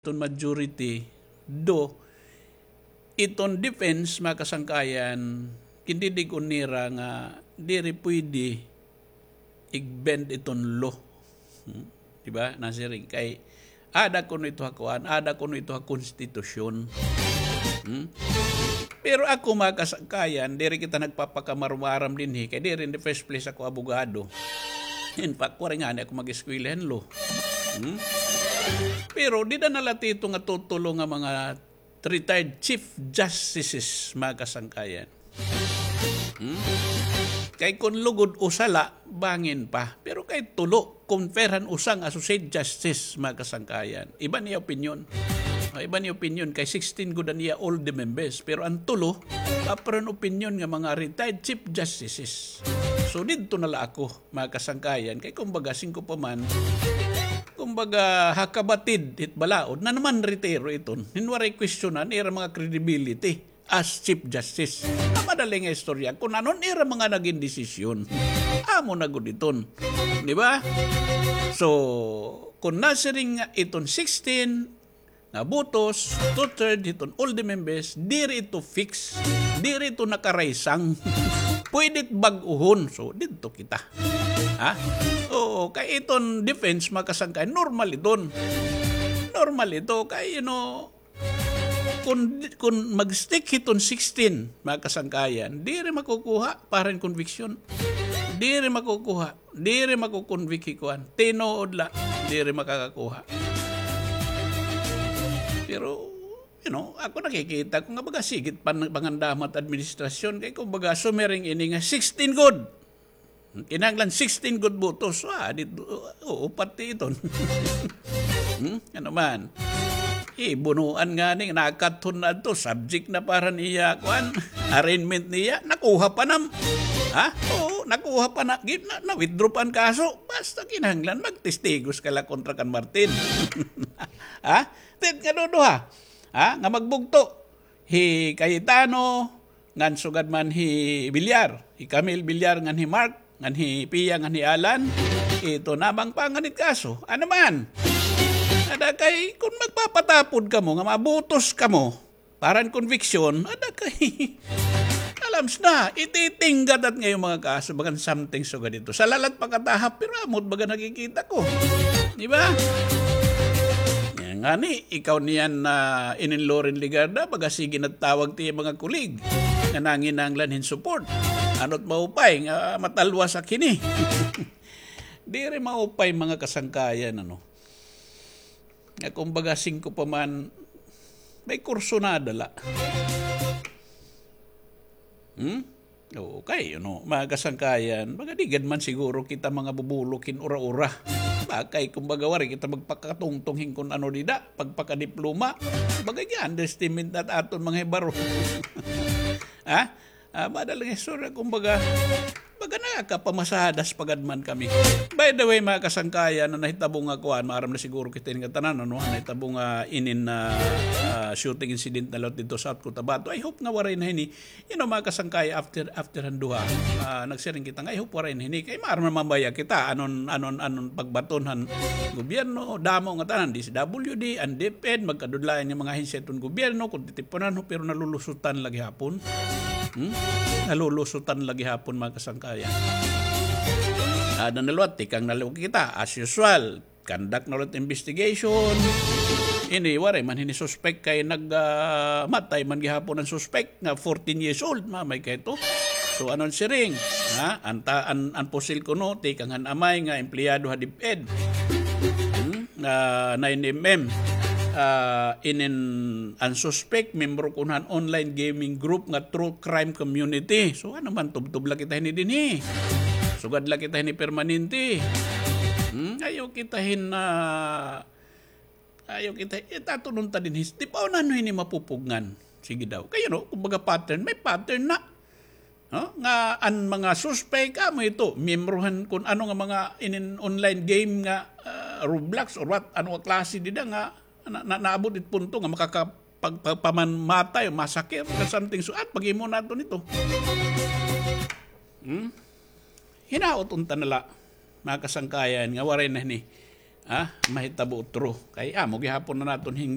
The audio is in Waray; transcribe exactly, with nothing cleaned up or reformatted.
iton majority, do iton defense, mga kasangkayan, kindidig-on nira nga diri pwede i-bend iton law. Hmm? Di ba? Nasiring kay, ada kuno ito ha kuan, ada kuno ito ha konstitusyon. Hmm? Pero ako, mga kasangkayan, diri kita nagpapakamarumaram dinhi, kay diri in the first place ako abogado. In fact, waray ngani ako mag-eskwela hin law. Hmm? Pero dida na la tito nga tutulo nga mga retired chief justices, mga kasangkayan. Hmm? Kay kun lugod usa la, bangin pa. Pero kay tulo, compare han usa nga associate justice, mga kasangkayan. Iba niya opinion. Ah, iba niya opinion kay sixteen gud an iya all the members. Pero an tulo, pareho an opinion nga mga retired chief justices. So, didto na la ako, mga kasangkayan. Kay kumbaga, singko pa man, kumbaga, ha kabatid hit balaod, na naman retiro iton. Hin waray kwestiyonan, ira mga credibility as Chief Justice. An madali nga istorya, kun ano an ira mga nagin desisyon. Amo na gud iton. Di ba? So, kun nasiring nga iton sixteen, nga botos, two-third hiton all the members, diri ito fix, diri ito nakaraysang. Pwede it bag-ohon. So, didto kita. Ha? Oo, kay iton defense, mga kasangkay, normal iton. Normal ito, kay, you know, kun, kun mag-stick hiton sixteen, mga kasangkayan, diri makukuha para hin conviction. Diri makukuha. Diri makukonvict hi kuan. Tinuod la, diri makakakuha. Pero, you know, ako nakikita ko nga baga sigit pan-, pangandamot administrasyon. Kay kumbaga, sumiring ini nga sixteen gud. Kinahanglan sixteen gud botos. Ah, di, oo, pati iton. Hmm? Ano man? Eh, bunuan nga ni, nakathon na to, subject na para niya, kuan, arraignment niya, nakuha pa nam. Ha? Oo, nakuha pa na, gi-, na, na-withdraw pa an kaso. Basta kinahanglan, magtestigos ka la kontra kan Martin. Ha? Tit nga duduha. Ha? Nga magbugto. Hi Cayetano, ngan sugad man hi Villar, hi Camille Villar, ngan hi Mark, ngan hi Pia, ngan hi Alan, ito namang panganit kaso. Ano man? Ada kay, kun magpapatapod kamo, nga mabutos kamo, para hin conviction, ada kay, alams na, ititinggadat nga yung mga kaso, bagan something sugad ito. Sa lalat pagkatahap, pero amot baga nakikita ko. Di ba? Yan nga ni, ikaw niyan na inin Loren Legarda, baga sige nagtawag ti mga kulig nga nanginanglan hin support. Ano't maupay nga matalwas ak hini? Diri maupay, mga kasangkayan, ano. Nga kumbaga, singko pa man, may kursunada la. Hmm? Oo, kay, you know, mga kasangkayan, baga di gad man siguro kita mga bubulok hin ura-ura. Bakay, kumbaga, waray kita magpakatungtong hin kun ano dida, pagpakadiploma. Baga, i-underestimate nat aton mga hibaro. Ha? Ah, madali nga istorya, kumbaga, baga nakakapamasadas pa gad man kami. By the way, mga kasangkayan, na nahitabo nga kuan, maaram na siguro kita nga tanan, ano, nahitabo nga inin, ah, ah, shooting incident na liwat didto sa South Cotabato. I hope nga waray na hini. You know, mga kasangkay, after, after han duha, ah, nagsiring kita nga, I hope waray na hini. Kay maaram naman baya kita, anon, anon, anon pagbaton han gobyerno, damo nga tanan, D S W D, an DepEd, magkadudlayan nga mga ahensya iton gobyerno, kun titipunan ho, pero nalulusutan la gihapon. Hmm? Nalulusutan la gihapon, mga kasangkayan. Ada na liwat, tikang na liwat kita, as usual, conduct na liwat investigation. Ini, waray man hini suspek kay nag, ah, matay man gihapon an suspek nga fourteen years old, mamay kay ito. So, anon siring? Ha? An ta-, an, an pusil kuno, tikang han amay nga empleyado ha DepEd. Hmm? Ah, nine M M. Ah, inin an suspek, membro kuno han online gaming group nga True Crime Community. So, ano man, tubtob la kita hini dinhi. Sugad la kita hini permanente. Hmm? Ayaw kita hin, ah, ayaw kita, itatunong ta dinhi. Di pa, ano hini mapupugngan? Sige daw. Kay, you know, kumbaga pattern, may pattern na. No? Nga an mga suspek, amo ito, miyembro han kun ano nga mga inin online game nga, ah, Roblox or what, ano nga klase dida nga na, na, naabot it punto nga makaka-, pag-, pag-, pamanmatay o masakit or something. So, at pag-imo nato nito. Hmm? Hinaot unta na la, mga kasangkayan, nga waray na hini. Ah, mahitabo true. Kay amo gihapon na naton hin